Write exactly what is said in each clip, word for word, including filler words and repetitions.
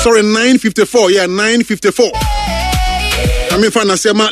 Sorry, nine fifty-four. Yeah, nine fifty-four. I mean, fa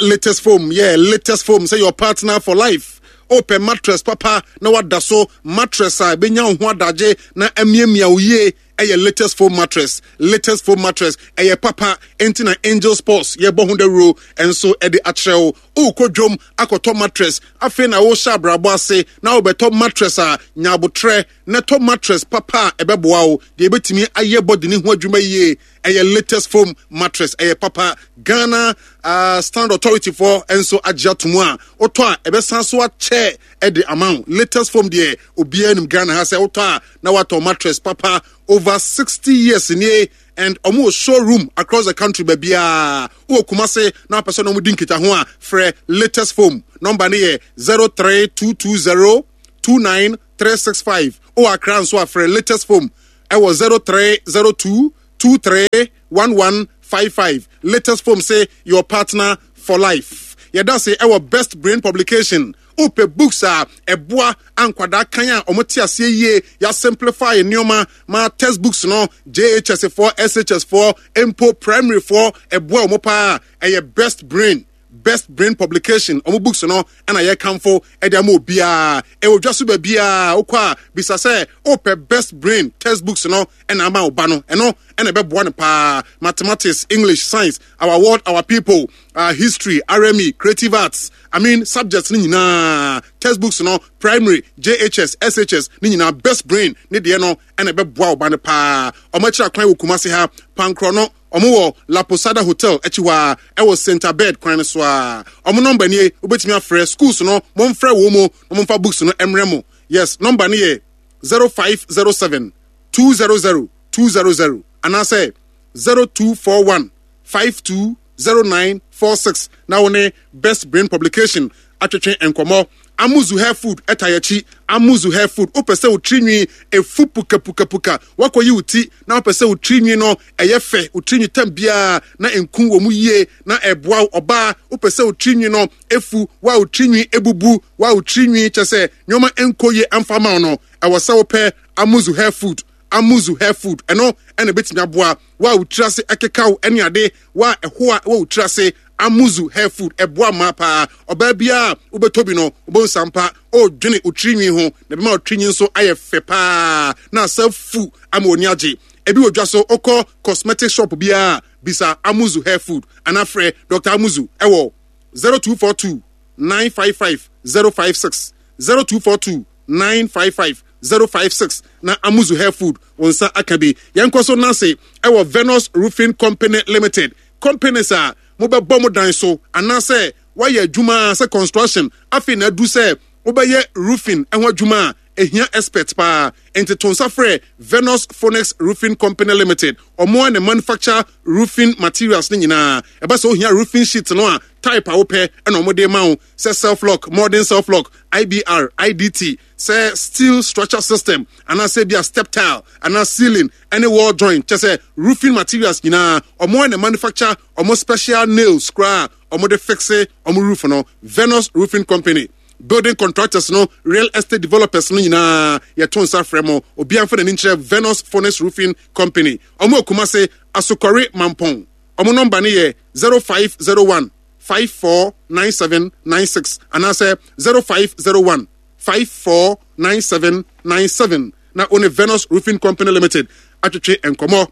latest foam. Yeah, latest foam. Say your partner for life. Wopɛ mattress papa na wada so, mattress a ɛbɛnya wo ho adagye na amiamia wo yie, ɛyɛ Latest Foam mattress. Latest Foam mattress ɛyɛ papa, enti na Angel Sports yɛbɔ ho dawuro ɛnso ɛde akyerɛ wo. Wokɔ dwom akɔtɔ mattress, afei na wohyɛ abrabɔ ase na wobɛtɔ mattress a, nya abotrɛ na tɔ mattress papa a ɛbɛboa wo deɛ ɛbɛtumi ayɛ body ne ho adwuma yie. Ɛyɛ Latest Foam mattress, ɛyɛ papa. Ghana uh, Standard Authority foɔ nso agye ato mu a wotɔ a ɛbɛsan so akyɛ ɛde ama wo. Latest Foam deɛ, obiara nim Ghana ha sɛ wotɔ a na watɔ mattress papa. Over sixty years nie, and ɔmo wɔ showroom across the country baabiaa. Wowɔ Kumase na wapɛ sɛ na ɔmo di nkita ho a, frɛ Latest Foam. Number ne yɛ zero three two two zero two nine three six five. Wowɔ Accra nso a, frɛ Latest Foam ɛwɔ zero three zero two two three one one five five. Latest Foam say your partner for life. Yɛda se ɛwɔ Best Brain Publication. Wopɛ books a ɛboa ankwadaa kan a ɔmo te aseɛ yie, yɛa simplify nneɛma ma textbooks no, J H S foɔ, S H S foɔ, mpo primary foɔ, ɛboa ɔmo paa. Ɛyɛ Best Brain, Best Brain Publication. Ɔmo books no ɛna yɛkamfo ɛde ama obiara. Ɛwɔ dwa so baabiara wokɔ a, bisa sɛ wopɛ Best Brain textbooks no ɛna ama wo ba no. Ɛno ɛna ɛbɛboa no paa. Mathematics, English, science, Our World Our People, uh, history, R M E, creative arts, I mean, subjects ne nyinaa, textbooks no, primary, J H S, S H S ne nyinaa, Best Brain ne deɛ no ɛna ɛbɛboa wo ba no paa. Ɔmo akyerɛ kwan wɔ Kumase ha, Pankorɔ no, ɔmo wɔ La Posada Hotel akyi hɔ a ɛwɔ Center Bed kwan no so a. Ɔmo number nie, wobɛtumi afrɛ. Schools no, momfrɛ wɔ mu na momfa books no mmerɛ mo. Yes, number no yɛ zero five zero seven two zero zero two zero zero anaasɛ zero two four one five two zero nine four six na wo ne Best Brain Publication atwetwe nkɔmmɔ. Amuzu Hair Food ɛta yɛkyi. Amuzu Hair Food, wopɛ sɛ wo tirinwi efu pukapukapuka, wakɔyi wo ti na wopɛ sɛ wo tirinwi no ɛyɛ fɛ, wo tirinwi tam biara na nku wɔ mu yie na ɛboa wo. Ɔbaa, wopɛ sɛ wo tirinwi no efu, wa wo tirinwi ebubu, wa wo tirinwi kyɛ sɛ nneɛma nkɔ yie amfa ma wo no, ɛwɔ sɛ wopɛ Amuzu Hair Food. Amuzu Hair Food ɛno ɛna ebɛtumi aboa wa wo tiri ase ɛkekaw ɛne ade wa ɛho a ɛwɔ wo tiri ase. Amuzu Hair Food ɛboa mmaa paa. Ɔbaa biara wobɛtɔ bi no, wobɛhu sampa ɔredwene wo tirinwi ho na ɛbɛma wo tirinwi nso ayɛ fɛ paa na asa fu ama oni agye. Ebi wɔ dwa so. Wokɔ cosmetic shop biara, bisa Amuzu Hair Food anaa frɛ Doctor Amuzu ɛwɔ zero two four two nine five five zero five six, zero two four two nine five five zero five six na Amuzu Hair Food wɔn nsa aka bi. Yɛn kɔ so nase ɛwɔ Venus Roofing Company Limited. Companies a mobɛbɔ mo dan so anaasɛ wayɛ adwuma sɛ construction, afei na adu sɛ wobɛyɛ roofing ho adwuma a, ehia expert paa. Nti to nsa frɛ Venus Phoenix Roofing Company Limited. Ɔmo a na manufacture roofing materials ne nyinaa. Ɛba sɛ ohia roofing sheet no a, type a wopɛ ɛna ɔmo de ma wo, sɛ self lock, modern self lock, I B R, I D T, sɛ steel structure system anaasɛ bi a step tile anaa ceiling ɛne wall joint, kyɛ sɛ roofing materials nyinaa, ɔmo a na manufacture ɔmo special nails koraa ɔmo de fixe ɔmo roof no. Venus Roofing Company, building contractors no, real estate developers no nyinaa, yɛto nsa frɛ mo. Obiara mfa n'ani nkyerɛ Venus Phoenix Roofing Company. Ɔmo Akumase, Asokɔre Mampɔn. Ɔmo number no yɛ zero five zero one five four nine seven nine six anaasɛ zero five zero one five four nine seven nine seven na one Venus Roofing Company Limited atwetwe nkɔmmɔ.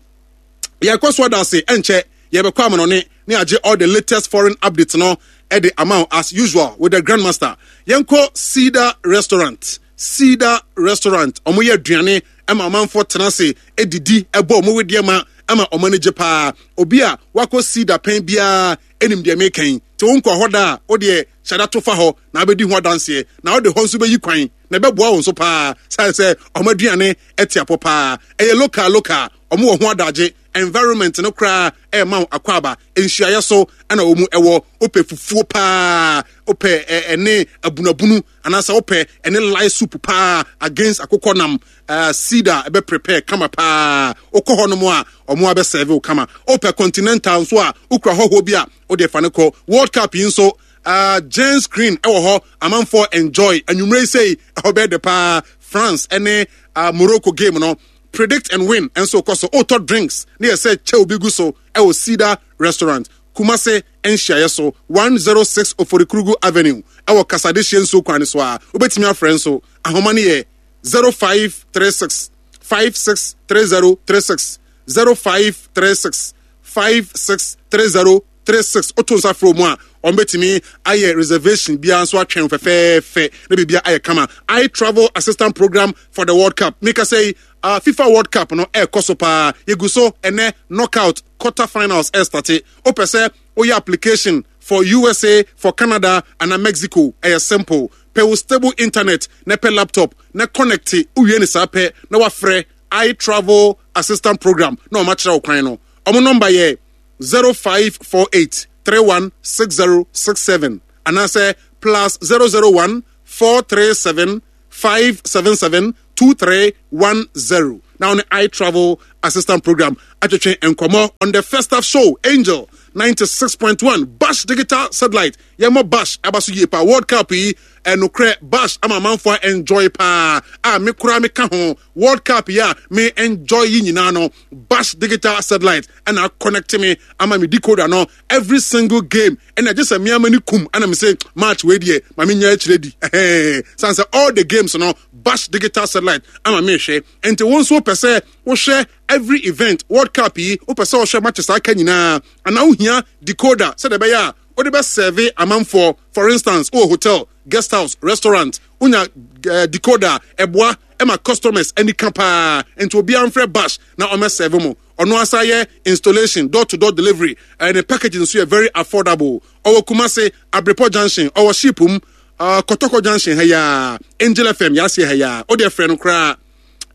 Yɛkɔ so ada ase. Ɛnkyɛ yɛbɛkɔ amanɔne ne agye all the latest foreign updates no ɛde ama wo as usual with the Grandmaster. Yɛnkɔ Cedar Restaurant. Cedar Restaurant, ɔmo yɛ aduane ɛma ɔmanfoɔ tena ase edidi, ɛbɔ ɔmo wedeɛ ma ɛma ɔmo ani gye paa. Obi a wakɔ Cedar pɛn biara ɛnim deɛ mekan te. Wo nkɔ hɔ da a, wodeɛ hyɛda to fa hɔ na abɛdi ho adanseɛ na wode hɔ nso bɛyi kwan na ɛbɛboa wo nso paa sane sɛ ɔmo aduane ɛte apɔ paa. Ɛyɛ local local, ɔmo wɔ ho adagye. Environment no koraa ɛɛma wo akɔ nhyiaeɛ so ɛna wɔn mu ɛwɔ. Wopɛ fufuo paa, wopɛ ɛne abunabunu anaasɛ wopɛ ɛne light soup paa against akokɔ nam, ɛɛ Cedar ɛbɛ prepare kama paa. Wokɔ hɔ nom a, ɔmo abɛ serve wo kama. Wopɛ continental nso a, wokura hɔhoɔ bi a, wode fa ne kɔ. World Cup yi nso, uh, giant screen ɛwɔ hɔ, amanfoɔ enjoy. Anwummerɛ yi sɛi ɛhɔ bɛyɛ de paa. France ɛne uh, Morocco game no. Predict and win nso kɔ so. Wotɔ drinks ne yɛ sɛ kyɛw bi gu so ɛwɔ Cedar Restaurant, Kumase nhyiaeɛ so, one oh six Oforikrugu Avenue, ɛwɔ Kasadehyɛ nsuo kwan so a wobɛtumi afrɛ nso. Ahoma no yɛ zero five three six five six three zero three six, zero five three six five six three zero three six. Woto nsa frɛ mu a, ɔmbɛtumi ayɛ reservation biara nso atwɛn fɛfɛɛfɛ na biribia ayɛ kama. I Travel Assistant Program for the World Cup. Meka sɛ uh, FIFA World Cup no ɛrekɔ so paa. Yɛgu so ɛnɛ, knockout quarter finals ɛstart. Wopɛ sɛ woyɛ application for U S A, for Canada ana Mexico, ɛyɛ simple. Pɛ wo stable internet na pɛ laptop na connect. Wowie ne saa pɛ na wafrɛ I Travel Assistant Program na ɔma kyerɛ wo kwan no. Ɔmo number yɛ zero five four eight three one six zero six seven anaasɛ plus zero zero one four three seven five seven seven two three one zero na ɔne I Travel Assistant Program atwetwe nkɔmmɔ on the First Half Show, Angel ninety-six point one. Bash Digital Satellite, yɛmmɔ Bash aba so yie paa. World Cup yi, ɛnokorɛ, Bash ama amanfoɔ enjoy paa a me koraa meka ho. World Cup yi a me enjoy yi nyinaa no, Bash Digital Satellite ɛna connect me ama me decoder no every single game. Ɛna gye sɛ mmeama no kum ɛna me sɛ match wei deɛ ma menya akyerɛ di ɛhɛn san sɛ all the games no, Bash Digital Satellite ama mehwɛ. Nti wo nso wopɛ sɛ wohwɛ every event, World Cup yi, wopɛ sɛ wohwɛ matches aka nyinaa anaa wohia decoder sɛdeɛ ɛbɛyɛ a wode bɛserve amanfoɔ, for instance wowɔ hotel, guest house, restaurant, wonya uh, decoder, ɛboa ɛma customers ani ka paa. Nti obiara mfrɛ Bash na ɔmɛserve mo. Ɔno asa yɛ installation, door to door delivery, ɛne package nso yɛ very affordable. Ɔwɔ Kumase Abrepɔ Junction, ɔwɔ ship mu, uh, Kɔtɔkɔ Junction ha yaa, Angel F M yɛaseɛ ha yaa. Wode frɛ no koraa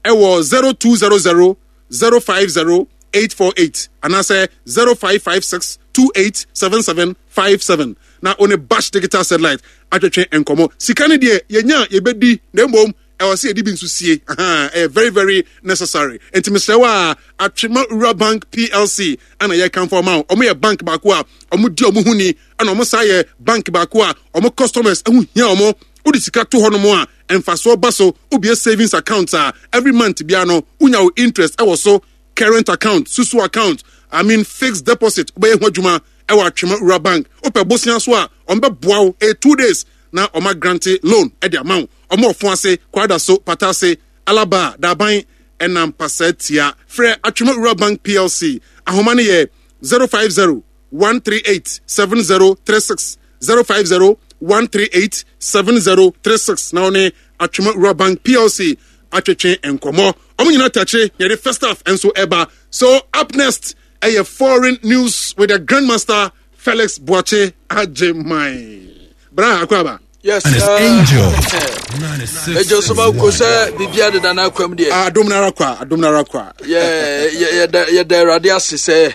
ɛwɔ zero two zero zero zero five zero eight four eight anaasɛ zero five five six two eight seven seven five seven na one Bash Digital Satellite atwetwe nkɔmmɔ. Sika no deɛ, yɛnya yɛbɛdi, na mmom ɛwɔ sɛ yɛde bi nso sie. Ɛyɛ very very necessary. Nti mesrɛ wo a, Atwema Rural Bank P L C ana yɛkamfo ɔma wo. Ɔmo yɛ bank baako a ɔmo di ɔmo ho ni, ɛna ɔmo saa yɛ bank baako a ɔmo customers ɛho hia ɔmo. Wode sika to hɔ nom a, mfasoɔ ba so. Wobie savings account a, every month bia no wonya wo interest ɛwɔ so. Current account, susu account, I mean fixed deposit, wobɛyɛ ho adwuma ɛwɔ Atwema Rural Bank. Wopɛ bosea so a, ɔmbɛboa wo. Ɛyɛ two days na ɔma grant loan ɛde ama wo. Ɔmo ɔfo ase, Kwada so, Pata ase, Alaba, Daban ɛna Mpasa Tia. Frɛ Atwema Rural Bank P L C. Ahoma no yɛ zero five zero one three eight seven zero three six, zero five zero one three eight seven zero three six na ɔne Atwema Rural Bank P L C atwetwe nkɔmmɔ. Ɔmo nyinaa takyire yɛde First Half nso ɛba so. Up next ɛyɛ foreign news with the Grandmaster Felix Boakye Agyeman. Bra akwaba. Yes. And it's Angel. Ɛgye so ma ko sɛ biribia deda no akwam deɛ. Adom no ara kwa, adom no ara kwa. Yɛda Awurade ase sɛ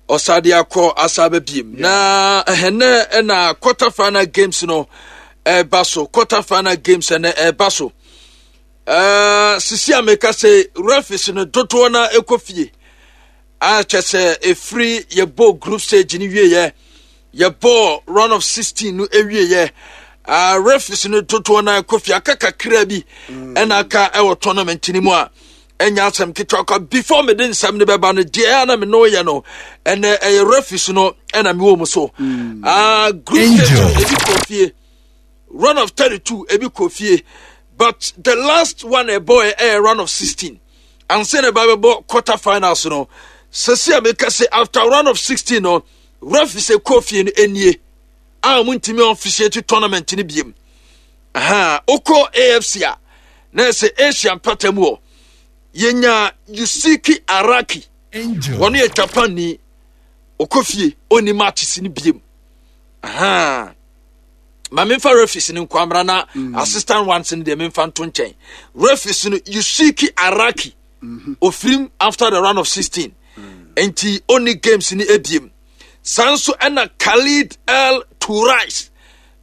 ɔsade akɔ asa bɛbiem na ɛhɛnɛ ɛna quarter final games no ɛba so. Quarter final games ɛnɛ ɛba so. Sisi a meka sɛ referees no dodoɔ no ɛkɔ fie a, kyɛ sɛ ɛfiri yɛbɔ group stage no wieɛ, yɛbɔ round of sixteen no awieɛ, uh, referees no dodoɔ no ɛkɔ fie. Aka kakra bi ɛna aka ɛwɔ tournament no mu a ɛnya asɛm ketewa kwa. Before mede nsɛm no bɛba no deɛ, ɛna me no yɛ no ɛnɛ ɛyɛ referees no ɛna mewɔ mu so. uh, group stage no ebi kɔ fie, round of thirty-two ebi kɔ fie, but the last one ɛbɔ ɛyɛ round of sixteen ansa na ɛba bɛbɔ quarter finals no. Sɛsi a meka sɛ after round of sixteen no, referees ɛkɔ fie no nie a wɔn ntumi officiate tournament no biem. Aha okɔ A F C a, na ɛsɛ Asia mpata mu hɔ, yɛnya Yusiki Araki. Wɔn yɛ Japan ni, ɔkɔ fie, ɔni matches no biem. Aha ma memfa referees no nkɔ amra na mm. assistant ones no deɛ memfa nto nkyɛn. Referees no, Yusiki Araki mm -hmm. ofirim after the round of sixteen, mm. nti ɔni games no ebiem. Saa nso ɛna Khalid El Turais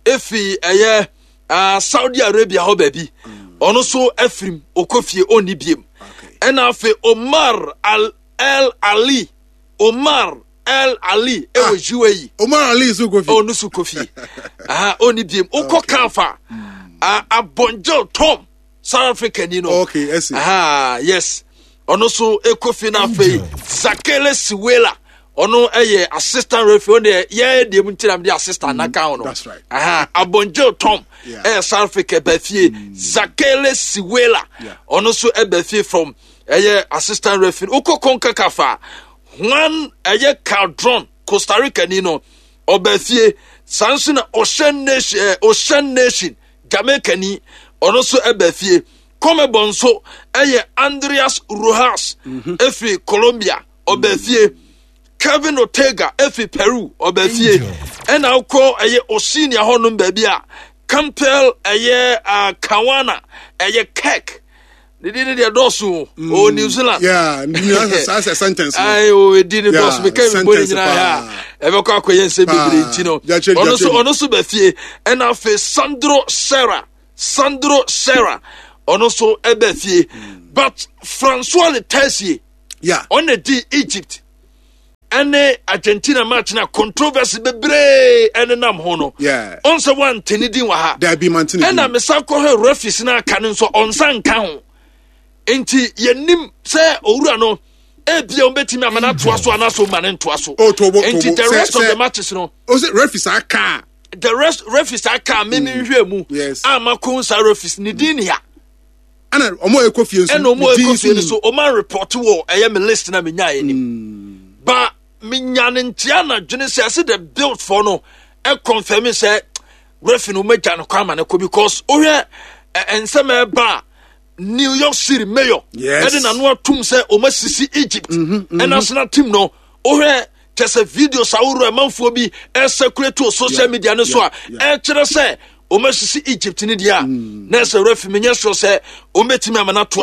efi ɛyɛ uh, Saudi Arabia hɔ baabi, ɔno nso afirim, ɔkɔ fie, ɔnni biem. Ɛna afei Omar Al El Ali, Omar El Ali ɛwɔ ah, U A E. Omar Ali nso kɔ fie. Ɔno nso kɔ fie, ɔnni biem. Wokɔ kafa Abonjel Tom, South Africa ni no. Okay, ɛsi. Ah, yes, Ɔno nso ɛkɔ fie. No afei Zakele Siwela, ɔno ɛyɛ assistant referee. Ɔno deɛ, yɛyɛ deɛ mu ntina de assistant n'aka ho no. That's right. Aha, Abonjil Tom Yeah. ɛyɛ South Africa, ɛbɛ fie. Zakele Siwela, Yeah. ɔno nso ɛbɛ fie from ɛyɛ assistant referee. Wokɔ CONCACAF a, Juan ɛyɛ Caldron, Costa Rica ni no, ɔbɛ fie. Saa nso na Ocean Nation, ɛɛ Ocean Nation, Jamaica ni, ɔno nso ɛbɛ fie. CONMEBOL nso ɛyɛ Andreas Rojas efiri Colombia, ɔbɛ fie. Kevin Ortega efi Peru, ɔbɛ fie. Ɛna wokɔ ɛyɛ Oceania hɔnom baabi a, Campbell ɛyɛ uh, Kawana ɛyɛ Kirk, ne din ne deɛ dɔɔso o, ɔwɔ New Zealand. Yeah, saa sɛ sentence no. Ayi o, edi ne dɔɔso, meka mi bɔ ne sentence nyinaa paa. A ɛbɛkɔ akɔyɛ nsɛm bebree nti no, Gyakyere, ɔno nso gyakyere. ɔno nso bɛ fie. Ɛna afei Sandro Serra, Sandro Serra, ɔno nso ɛbɛ fie. But Francois Letexier, yeah ɔna di Egypt ɛne Argentina match na controversy bebree ɛnenam ho no, Yeah. ɔnsɛ wante ne din wɔ ha. Dabi, mantene. Ɛna mesa kɔhwɛ referees no aka no nso, ɔnsa nka ho. Nti yɛnim sɛ owura no ebia wɔbɛtumi ama no atoa so anaasɛ ɔma no ntoa so. Oh, tobo, Nti tobo. the Sɛ- rest of sɛ- the matches no, O sɛ referee saa kaa. The rest referees aka a meme nhwɛ mu Yes. a makɔhu saa referees ne din ni ha. Ɛna ɔmo a ɛkɔ fie nso, Ɛna ɔmo ne din ɛkɔ nso fie no nim. so ɔma report wɔ ɛyɛ me list na menyaeɛ nim ba menya ne ntea na dwene sɛ ɛsɛ the build for no ɛconfirm sɛ referee no ɔmagya no kwan ama no kɔ, because wohwɛ ɛ- nsɛm a ɛba a, New York City mayor Yes. ɛde n'ano atum sɛ ɔma sisi Egypt ɛnational team no. Wohwɛ kyɛ sɛ videos ahoroɔ ɛmanfoɔ bi ɛcirculate wɔ social Yeah, media no so a yeah, yeah. ɛkyerɛ sɛ ɔma sisi Egypt no deɛ a, na ɛsɛ referee menyɛ sure sɛ ɔmɛtumi ama no atoa.